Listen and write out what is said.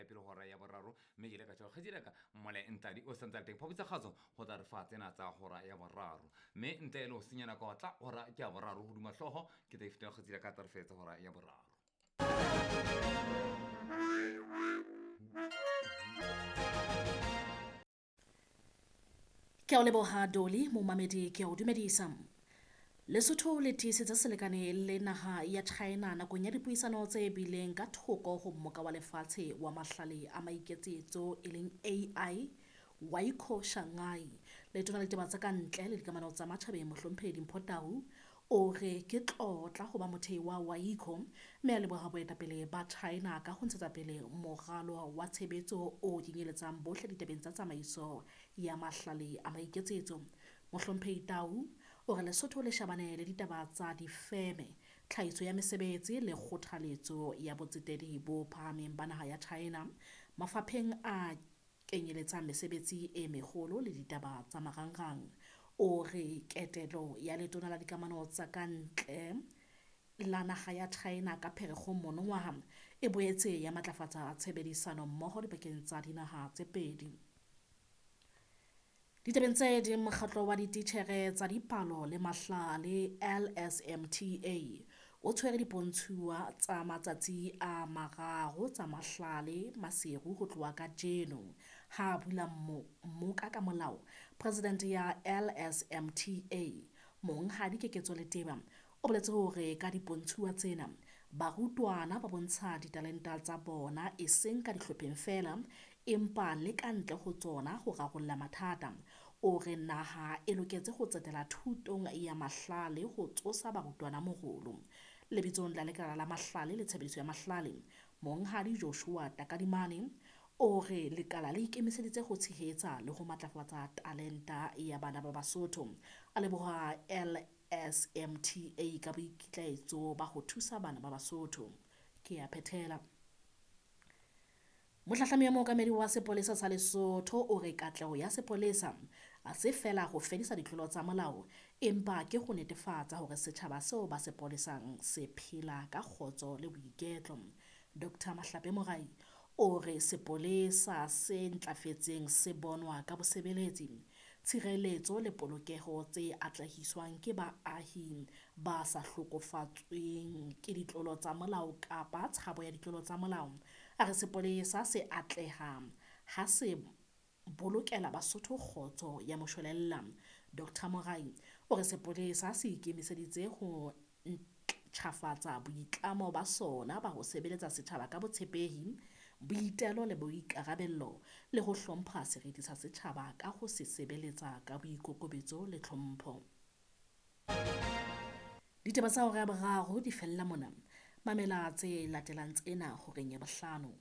pele hora ya boraro, mme ke ile ka tjho kgetsile ka mole ntladi o santse a le teng phaputsa kgatso ho tla re fa tsena tsa hora ya boraro, mme ntle le ho senya nako tla hora ke ya boraro hodima hlooho ke tla ifetela kgetsile ka tla re fetsa hora ya boraro. Ke a o leboha Dolly, momamedi ke a o dumedisa. Lesotho le tiisitse selekane le naha ya China nakong ya dipuisano tse bileng ka thoko ho mmoka wa lefatshe wa mahlale a maiketsetso e leng AI Waiko Shanghai. Letona la ditaba tsa ka ntle le dikamano tsa matjhabeng Mohlomphehi Dimpho Tau o re ke tlotla ho ba mothei wa Waiko mme a leboha boetapele ba China ka ho ntshetsa pele moralo wa tshebetso o kenyeletsang bohle ditabeng tsa tsamaiso ya mahlale a maiketsetso. Mohlomphehi Tau o re Lesotho le shebane le ditaba tsa difeme, tlhahiso ya mesebetsi le kgothaletso ya botsetedi bo phahameng ba naha ya China mafapheng a kenyeletsang mesebetsi e meholo le ditaba tsa marangrang. O re ketelo ya letona la dikamano tsa ka ntle la naha ya China ka Pherekgong monongwaha e boetse ya matlafatsa tshebedisano mmoho dipakeng tsa dinaha tse pedi. Ditabeng tse ding, mokgatlo wa dititjhere tsa dipalo le mahlale LSMTA o tshwere dipontshuwa tsa matsatsi a mararo tsa mahlale Maseru ho tloha kajeno. Ha a bula mmoka ka molao, president ya LSMTA Monghadi Keketso Leteba o boletse hore ka dipontshuwa tsena barutwana ba bontsha ditalenta tsa bona eseng ka dihlopheng feela empa le ka ntle ho tsona ho rarolla mathata. O re naha e loketse ho tsetela thutong ya mahlale ho tsosa barutwana morolo. Lebitsong la lekala la mahlale le tshebediso ya mahlale, Monghadi Joshua Takadimane o re lekala le ikemiseditse ho tshehetsa le ho matlafatsa talenta ya bana ba Basotho. A leboha LSMTA ka boikitlaetso ba ho thusa bana ba Basotho. Ke a phethela. Mohlahlami ya mookamedi wa sepolesa sa Lesotho o re katleho ya sepolesa ha se feela ho fedisa ditlolo tsa molao, empa ke ho netefatsa hore setjhaba seo ba se polesang se phela ka kgotso le boiketlo. Dr Mahlape Morai o re sepolesa se ntlafetseng se bonwa ka bosebeletsi, tshireletso le polokeho tse atlehiswang ke baahi ba sa hlokofatsweng ke ditlolo tsa molao kapa tshabo ya ditlolo tsa molao. A re sepolesa se atleha ha se bolokela Basotho kgotso ya moshwelella. Dr Morai o re sepolesa se ikemiseditse ho ntjhafatsa boitlamo ba sona ba ho sebeletsa setjhaba ka botshepehi, boitelo le boikarabello le ho hlompha seriti sa setjhaba ka ho se sebeletsa ka boikokobetso le tlhompho. Ditaba tsa hora ya boraro di fella mona. Mamela tse latelang tsena horeng ya bohlano.